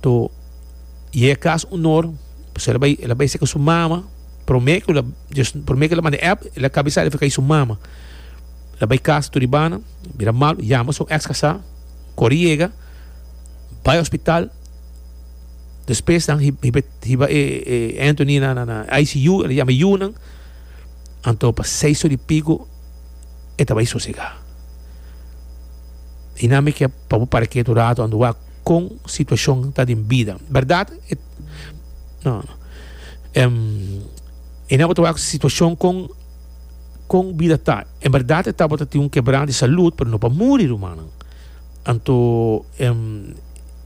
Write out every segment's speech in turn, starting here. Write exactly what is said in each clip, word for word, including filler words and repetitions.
To yega kas un or, pasobra el a bai, el a bai serka su mama, promé ku el a, promé ku el a manda e app, el a kaba di sali el a kai su mama. El a bai kas tur di banda, bira malu, yama su eks kasá, kore yega, bai hospital, despues nan hiba hiba e e Anthony na na I C U, el a yama e yunan, anto pa seis or di pico e ta bai sosegá. I nan mi ke pa bo para ketu rato anto wak kon situashon ta den bida. Bèrdat e no no i nan bo ta wak situashon kon kon bida ta. En bèrdat e tabata tin un kebran di salud pero no pa muri rumannan. Anto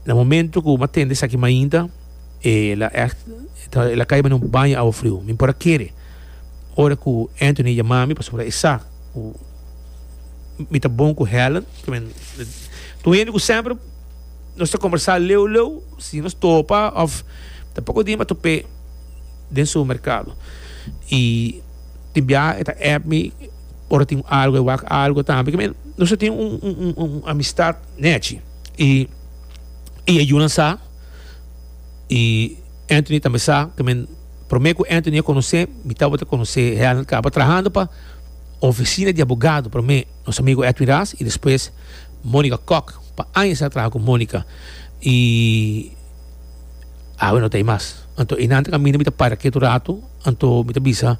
na momento ku mi a tende esaki mainta el a ègt el a kai na un baño awa friu. Mi por a kere ora ku Anthony yama mi pasobra e sa ku mi ta bon ku Helen. Tur hende ku semper nos ta kombersá leu leu si nos topa òf ta poko dia mi a top'é den supermerkado i tin biaha e ta app mi ora tin algu e wak algu tambe nos ta tin un un un amistat nechi i i e yunan sa i Anthony tambe sa ke men prome ku Anthony a konosé mi tabata konosé Helen kaba trahando pa ofisina di abogado prome nos amigo Edwin Ras i despues Monica Kok pa aña sa traha ku Monica i awe no ta ei mas anto einan ta kaminda mi ta para ketu rato anto mi ta bisa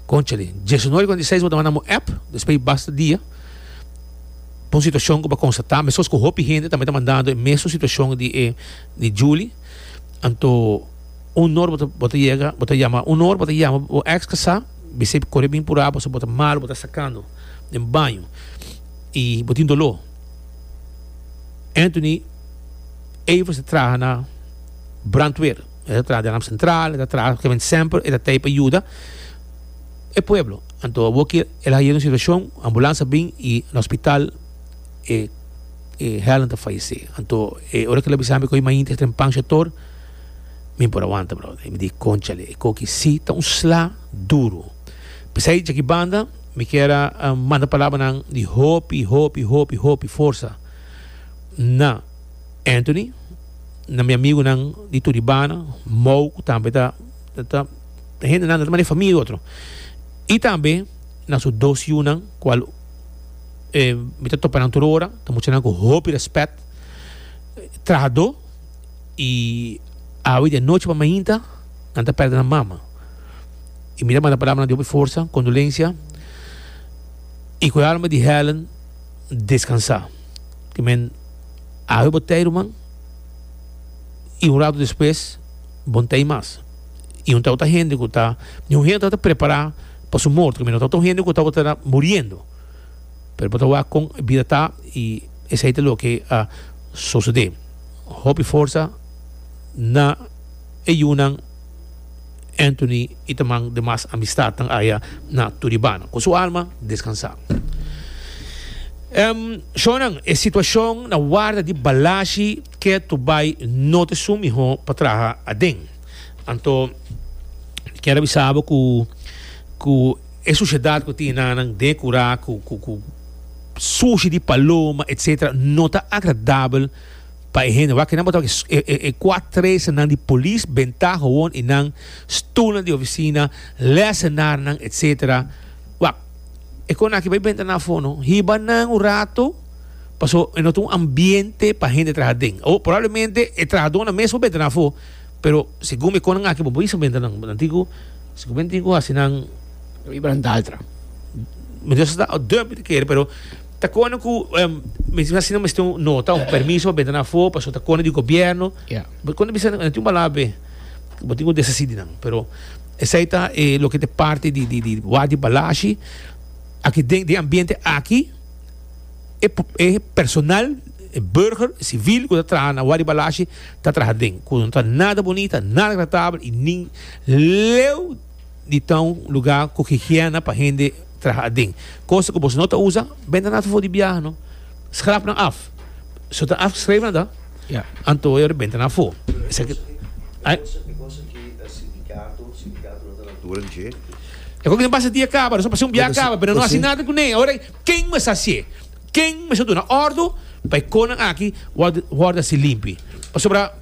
konchale diesnuebe i kuarenta i seis bo ta manda mi un app despues basta dia pa un situashon ku bo a konstatá meskos ku hopi hende tambe ta mandando e mesun situashon di e di Julie anto un or bo ta bo ta yega bo ta yama un or bo ta yama bo ex kasá bis'é kore bin purá pasobra bo ta malu bo ta sakando den baño i bo tin doló. Anthony Evers ta traha na brandweer e ta traha den Alarm Central e ta traha kende semper e ta tei pa yuda e pueblo anto awor ki el a haya un situacion ambulans a bin y na hospital e e Helen ta fayece anto e ora ke el a bisa mi ku mainta e trempan shetor mi por awanta brother mi di conchale e koki si ta un sla duro pesey djaki banda mi kier a manda palabranan di hopi hopi hopi hopi forsa na Anthony, na mi amigunan di Turibana, Mou ku tambe ta ta hendenan ta manda e famia di otro i tambe na su dos yunan kual mi ta topa nan tur ora ta muchanan ku hopi rèspèt trahadó i awe di anochi pa mainta nan ta pèrdè nan mama i mi ta manda palabranan di hopi forsa, kondolensia i ku e alma di Helen deskansá. Ki men awe bo tei ruman i un rato despues bo no tei mas. I un tabata hende ku ta, ni un hende tabata prepará pa su morto, ki men no tabata un hende ku tabata muriendo. Pero bo ta wak kon e bida ta i esei ta loke a sosodé. Hopi forsa na e yunan Anthony i ta man demas amistatnan aya na Turibana. Ku su alma deskansá. Shownan, e situashon na warda di Balashi ke tu bai no ta esun mihó pa traha aden. Anto mi kier a bisa bo ku ku e sushedat ku tin nan den e kurá ku ku ku sushi di paloma etsetera no ta agradabel pa e hende. Wak kinan bo ta wak e e kuatresanan di polis bentá howon i nan stulnan di ofisina, lèsenarnan etsetera. Wak. E kon aki bai benta nan afó no. Hiba nan un rato paso e no ta un ambiente pa hende traha den. O probablemente e trahadónan mes por benta nan afó, pero segun e konnan aki bo por bisa benta nan. Nan tin ku segun mi tin ku hasi nan. Hiba nan daltra. Mi no sa ta dump mi ta kere pero ta konan ku mi hasi nan mester un nota un permiso pa benta nan afó paso ta konan di gobierno. Bo kon ta bisa nan tin un palabra p'e. Bo tin ku deshasí di nan pero. Esei ta e loke ta e parti di di di wak di Balashi. Aki den den ambiente aki e e personal, e burger, e civil ku ta traha na wak di Balashi ta traha den. Ku no ta nada bunita, nada agradabel i nin leu di ta un lugar ku higiena pa hende traha aden. Cosa ku boso no ta usa, benta nan afo di biaha no. Schrap nan af. So ta afgeschreven nan ta? Ja. Anto e ora benta nan afo. Esaki E cosa ki sindicato, sindicato no ta na altura di dje. E cosa ki pasa dia caba, nos a pasa un bia caba, pero no haci nada cune. Ora ken mester hacié? Ken mester duna ordo pa e conan aki worde worde haci limpi? Pasobra